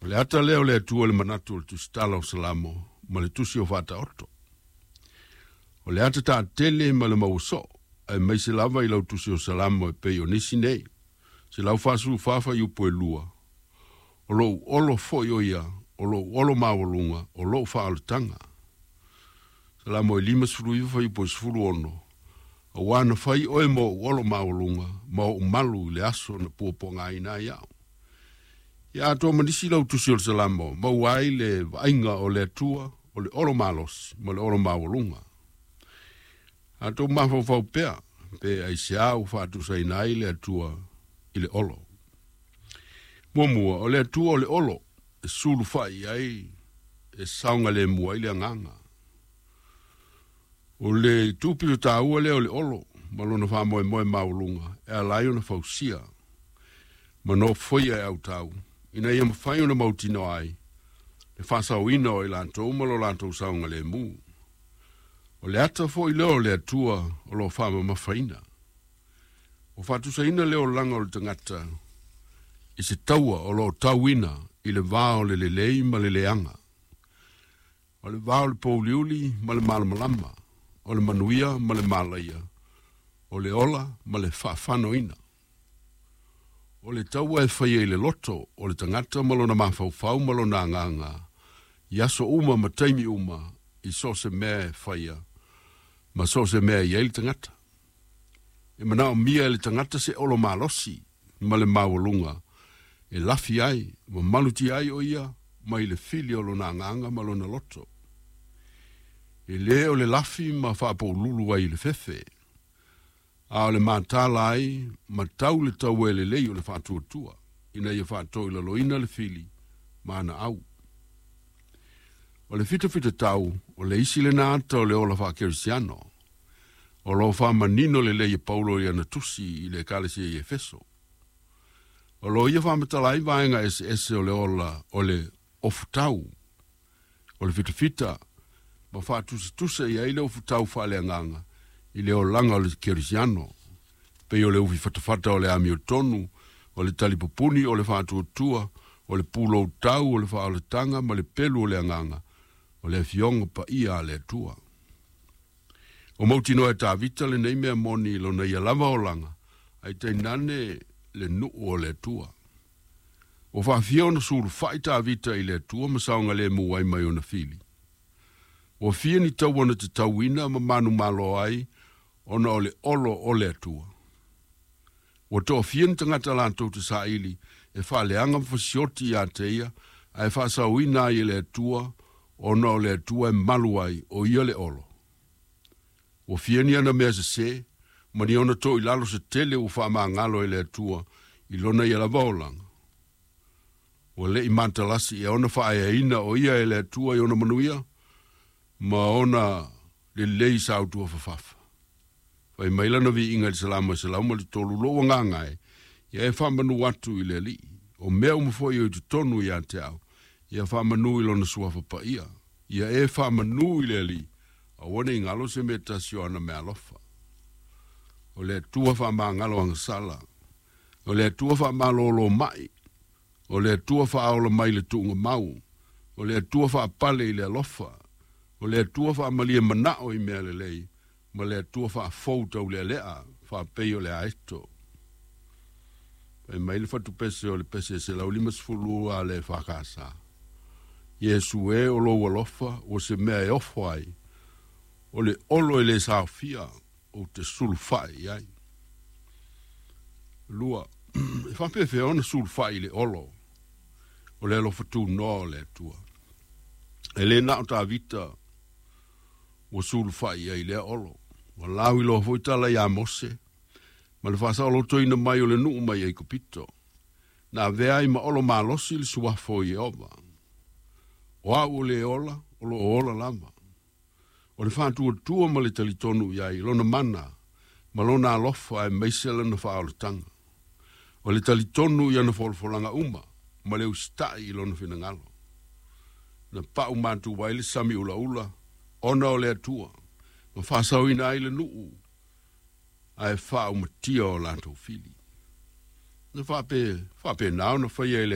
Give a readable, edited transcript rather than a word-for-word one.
O le ata lea o le Atua i le manatu o le Tusitala o Salamo ma le Tusi o Faataoto. O le ata taatele ma le maua soo, aemaise lava i lau Tusi o Salamo e pei o nisi nei, 144 fuaiupu e 2, O lou olo foi o ia, o lou olo maualuga, o lou faaolataga. Salamo e 59 fuaiupu e 16, Auā na fai oe mo ou olo maualuga ma ou malu i le aso na puapuagaina ai au. Ia atoa ma nisi lau tusi o le Salamo, maua ai le vaaiga o le Atua o le olo malosi ma le olo maualuga. A tou mafaufau pea, pe aisea ua faatusaina ai le Atua i le olo. Muamua, o le Atua o le olo e sulufai i ai, e saogalemu ai le agaga. O le itu pito taua lea o le olo ma lona faamoemoe maualuga e ala ai ona fausia ma nofoia e autau ina ia mafai ona mautinoa ai le faasaoina o i latou ma lo latou saogalemu. O le ata foi lea o le Atua o lo o faamamafaina. Ua faatusaina le olaga o le tagata i se taua o lo o tauina i le va o le lelei ma le leaga. O le va o le pouliuli ma le malamalama, o le manuia ma le malaia, o le ola ma le faafanoina. O le taua e faia i le loto o le tagata ma lona mafaufau ma lona agaga i aso uma ma taimi uma i so o se mea e faia ma so o se mea e i ai le tagata. E manaomia e le tagata se olo malosi ma le maualuga e lafi ai ma malutia ai o ia mai le fili o lona agaga ma lona loto. E lē o le lafi ma faapoululu ai i le fefe, a o le matala ai ma tau le taua e lelei o le faatuatua, ina ia faatoilaloina le fili ma ana au. O le fitafitatau, o le isi lena ata o le ola faakerisiano, o lo o faamanino lelei e Paulo i ana tusi i le Ekalesia i Efeso. O lo o ia faamatala ai vaega eseese o le ola o le ofutau, o le fitafita, ma faatusatusa i ai le ofutau faaleagaga i le olaga o le kerisiano, pei o le ufi fatafata o le amiotonu, o le talipupuni o le faatuatua, o le puloutau o le faaolataga ma le pelu o le agaga, o le Afioga Paia a le Atua. O mautinoa e Tavita lenei mea moni i lona ia lava olaga, ae tainane le nuu o le Atua. Ua faafia ona sulufai Tavita i le Atua ma saogalemu ai mai ona fili. Ua fia ni taua na tatauina ma manumalo ai ona o le olo o le Atua. Ua toafia ni tagata latou te saili e faaleaga ma fasioti ia te ia, ae faasaoina ai e le Atua ona o le Atua e malu ai, o ia le olo. Ua fia ni ana mea sesē, ma ni ona toilalo se tele ua faamagalo e le Atua i lona ia lava olaga. Ua le i matalasi ea ona faaeaina o ia e le Atua i ona manuia ma ona lelei sautua fafafa. Fai mai lana viiga i le Salamo e 103, Lou agaga e, ia e faamanu atu i le Alii, o mea uma foi o i totonu ia te au, ia faamanu i lona suafa paia. Ia e faamanu i le Alii, aua ne i galo se mea tasi o ana meaalofa. O le Atua faamagalo agasala, o le Atua faamalōlō maʻi, o le Atua faaola mai le tuuga mau, o le Atua faapale i le alofa, o le Atua faamalie manao i mea lelei, ma le Atua faafou taulealea, faapei o le aeto. Fai mai le fatupese o le pese e 152 a le EFKS, Iesu e, o lou alofa ua se mea e ofo ai, o le olo e le saofia ou te sulufai i ai. 2. E faapefea ona sulufai i le olo o le alofa tunoa o le Atua? E le na o Tavita ua sulufai i ai i lea olo. Ua lauiloa foi tala iā Mose ma le faasaolotoina mai o le nuu mai Aikupito, na avea ai ma olo malosi le suafa o Ieova. O au o le ola, o lo o ola lava. O le faatuatua ma le talitonu i ai, lona mana ma lona alofa aemaise lana faaolataga. O le talitonu i ana folafolaga uma ma le usitai i lona finagalo. Na pau matu ai le sami ulaula ona o le Atua, ma faasaoina ai le nuu ae faaumatia o latou fili. Na faapena ona faia e le